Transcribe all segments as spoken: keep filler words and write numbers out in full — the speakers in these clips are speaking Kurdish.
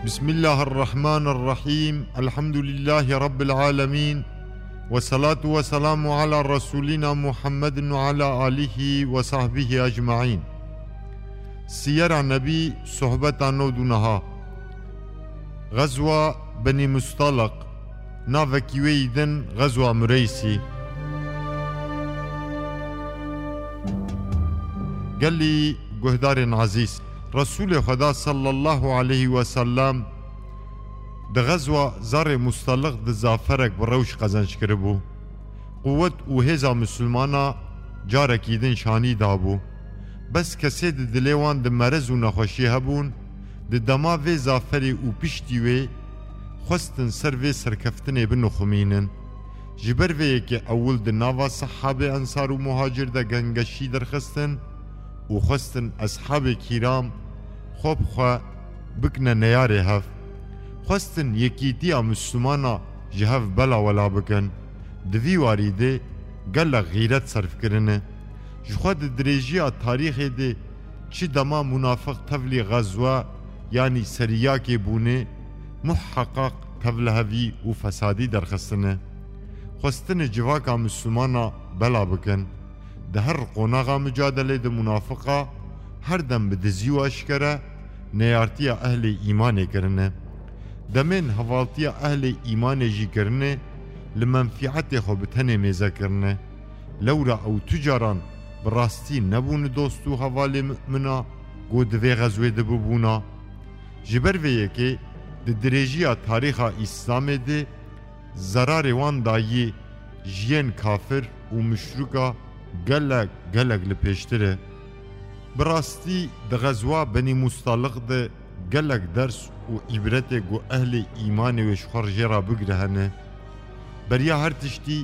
Bismillahirrahmanirrahîm. Elhamdülillahî Rabbil âlemîn. Ve salatu ve selamu ala Resulina Muhammedin ve ala alihi ve sahbihi ecmaîn. Siyera Nebî, sohbeta nod û neha. Xezwa Benî Mustaliq, navekî wê yî din Xezwa Mureysî. Gelî guhdarên ezîz, Resûlê Xweda sallallahu aleyhi ve sellem di xezwa Zarê Mustaliq di zaferek bi rewş qezenc kiribû. Quwet û hêza Misilmana carekî din şanî dabû. Bes kesê di dilê wan di merez û nexweşî hebûn, di dema vê zaferê û piştî wê xwestin ser vê serkeftinê binixumînin. Ji ber vê yekê ewil di nava sehabê ensar û muhacir de gengeşî derxistin û xwestin eshabê kîram xwe bi xwe bikine neyarê hev. Xwestin yekîtiya Misilmana ji hev bela wela bikin. Di vî warî de gelek xîret serf kirine. Ji xwe di dirêjiya tarîxê de çi dema munafiq tevlî xezwe yanî seriyakê bûne, muheqeq tevlihevî û fesadî derxistine. Xwestine civaka Misilmana bela bikin. Di her qonaxa mucadelê de munafiqa her dem bi dizî û eşkere neyartiya ehlê îmanê kirine. Demên hevaltiya ehlê îmanê jî kirine, li menfîetê xwe bi tenê mêze kirine. Lewra ew tu caran bi rastî nebûne dost û hevalê mumina ku di vê xezwê de bibûna. Ji ber vê yekê di dirêjiya tarîxa Îslamê de zerarê wan dayî ji yên kafir û muşrika gelek, gelek li pêştir e. Bi rastî di xezwa Benî Mustaliq de gelek ders û îbretê ku ehlê îmanê wê ji xwe re jê re bigire hene. Beriya her tiştî,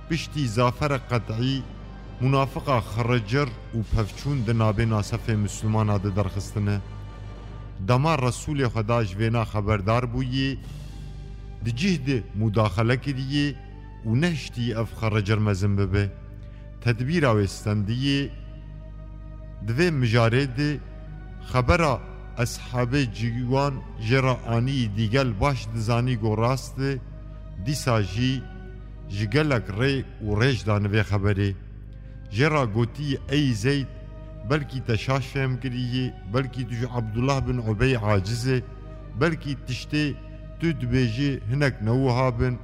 piştî zaferek qet'î, munafiqa xiricir û pevçûn di nabêna sefê Misilmana de derxistine. Dema Resûlê Xweda ji vêna xeberdar bûyî, di cih de mudaxele kiriyê û nehiştî ev xiricir mezin bibe. Tedbîra wê stendiyê. Di vê mijarê de xebera eshabê ciwan jê re anî, dîgel baş dizanî ku rast e, dîsa jî ji gelek rê û rêj dane vê xeberê. Jê re gotî, ey Zeyd, belkî te şaş fehm kiriyî, belkî tu ji Abdullah bin Ubey aciz e, belkî tiştê tu dibêjî hinek ne wiha bin,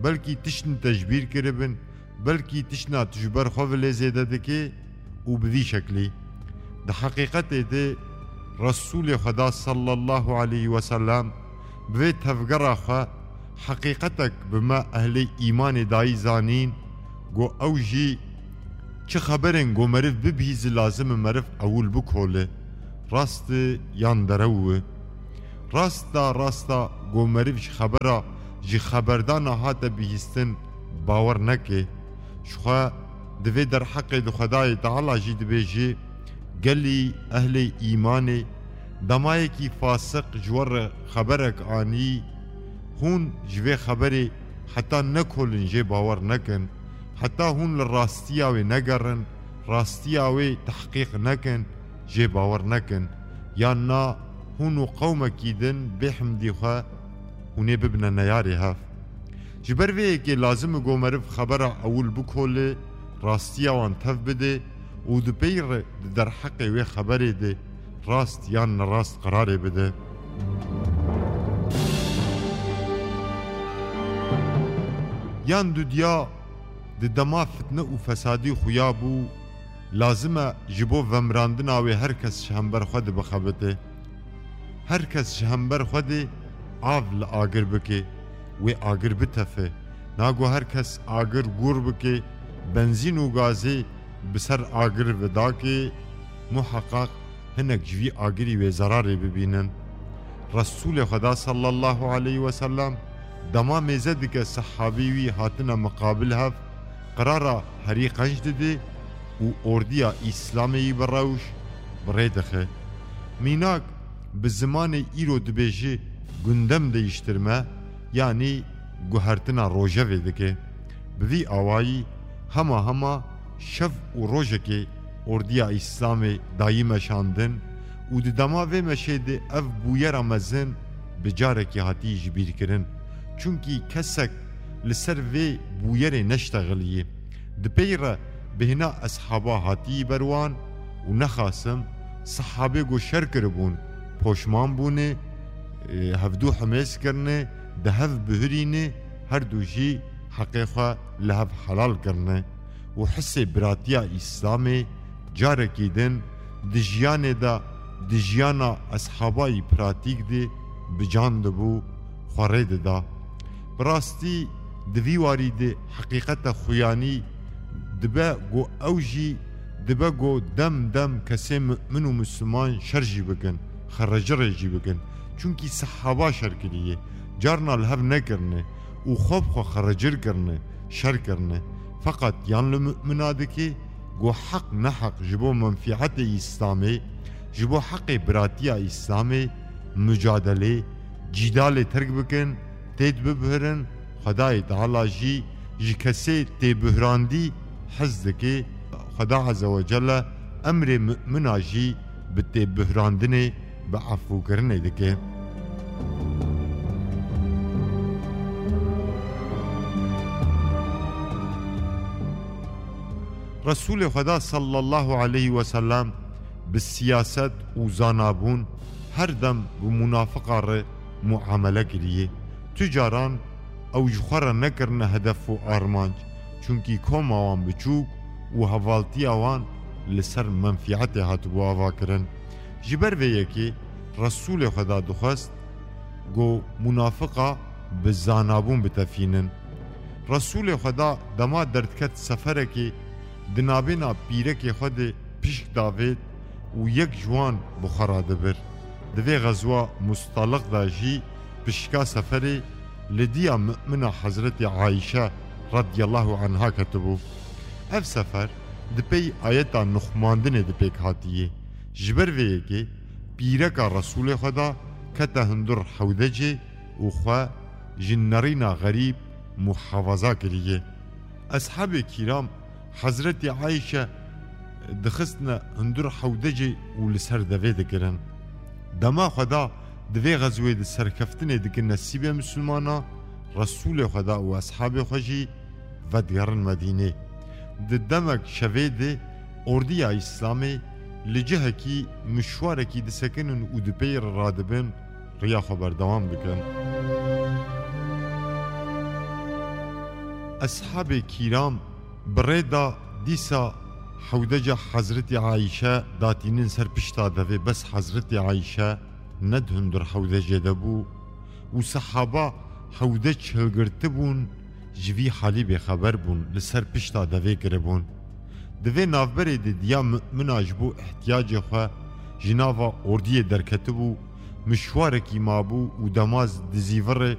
belkî tiştin te ji bîr kiribin, belkî tiştna tu ji ber xwe vilê zêde dikê û bi vî şeklî. Di heqîqetê de Resûlê Xweda sallallahu aleyhi ve sellem bi vê tevgera xwe heqîqetek bi me ehlê îmanê dayî zanîn, ku ew jî çi xeberên ku meriv bibihîzî lazim e meriv ewil bikole. Rast e yan derew e? Rasta rasta ku meriv ji xebera, ji xeberdana hate bihîstin bawer neke. Ji xwe di vê derheqê de Xwedayê Teala jî dibêje, gelî ehlê îmanê, demayekî fasiq ji we re xeberek anî, hûn ji vê xeberê heta nekolin jê bawer nekin, heta hûn li rastiya wê negerin, rastiya wê tehqîq nekin, jê bawer nekin, yan na hûn û qewmekî din bêhimdî xwe hûn ê bibine neyarê hev. Ji ber vê yekê lazim e ku meriv xebera ewil bikole, rastiya wan tev bide û di pey re di derheqê wê xeberê de rast yan nerast qerarê bide. Yan dudiya di dema fitne û fesadî xuya bû, lazim e ji bo vemirandina wê her kes ji hember xwe de bixebite. Her kes ji hember xwe de av li agir bike, wê agir bitefe. Nago her kes agir gûr bike, benzîn û gazê bi ser agir vidake, muheqeq hinek ji vî agirî wê zerarê bibînin. Resûlê Xweda sallallahu aleyhi ve sellem dema mêze dike sehabî wî hatine miqabil hev, qirara herî qenc dide û ordiya Îslamê yî bi rewş bi rê dixe. Mînak bi zimanê îro dibêje gündem değiştirme, yanî guhertina rojevê dike. Bi vî awayî hema hema şev û rojekê ordiya Îslamê dayî meşandin û di dema vê meşê de ev bûyera mezin bi carekî hatî ji bîr kirin. Çunkî kesek li ser vê bûyerê neştexiliyê. Di pey re bêhna eshaba hatî ber wan û nexasim, sehabê ku şer kiribûn, poşman bûne, e, hevdû himêz kirine, di hev bihurîne, her du jî heqê xwe li hev helal kirine û hisê biratiya Îslamê carekî din di jiyanê de, di jiyana eshabayî pratîk de bi can dibû, xwe rê dida. Bi rastî di vî warî de heqîqeta xuyanî dibe ku ew jî dibe ku dem dem kesê mu'min û misliman şer jî bikin, xerecirê jî bikin. Çunkî sehaba şer kiriye, carna li hev nekirine û xwe bi xwe xerecir kirine, şer kirine. Feqet yan li mu'mina dike ku heq neheq ji bo menfîetê Îslamê, ji bo heqê biratiya Îslamê mucadelê, cîdalê terk bikin, têt bibihirin, Xwedayê Teala jî ji kesê têbihrandî hez dike. Xweda Azze ve Celle emrê mu'mina jî bi têbihrandinê, bi efûkirinê dike. Resûlê Xweda sallallahu aleyhi ve sellem bi siyaset û zanabûn her dem bi munafiqa re muamele kiriye. Tu caran ew ji xwe re nekirine hedef û armanc, çunkî koma wan biçûk û hevaltiya wan li ser menfîetê hatibû avakirin. Ji ber vê yekê Resûlê Xweda dixwest ku munafiqa bi zanabûn bitefînin. Resûlê Xweda dema derdiket seferekê, di navbêna pîrekê xwe de pişk davêt û yek ji wan bi xwe re dibir. Di vê xezwa Mustaliq de jî pişka seferê li diya mu'mina Hezretî Ayşe radiyallahu anha ketibû. Ev sefer di pey ayeta nixumandinê de pêk hatiye. Ji ber vê yekê pîreka Resûlê Xweda kete hundir hewdecê û xwe ji nerîna xerîb muhafaza kiriye. Eshabê kîram Hezretî Ayşe dixistine hundir hewdecê û li ser devê dikirin. Dema Xweda di vê xezwê de serkeftinê dike nesîbê misilmana, Resûlê Xweda û eshabê xwe jî vedigerin Medînê. Di demek şevê de ordiya Îslamê li cihekî mişwarekî disekinin û di pey re radibin, riya xwe berdewam dikin. Eshabê kîram bi rê de dîsa hewdeca Hezretî Ayşe datînin ser pişta devê, bes Hezretî Ayşe ne di hundir hewdecê de bû û sehaba hewdec hilgirtibûn, ji vî halî bêxeber bûn, li ser pişta devê kiribûn. Di vê navberê de diya mu'mina ji bo ihtiyacê xwe ji nava ordiyê derketibû, mişwarekî mabû û dema di zîvirê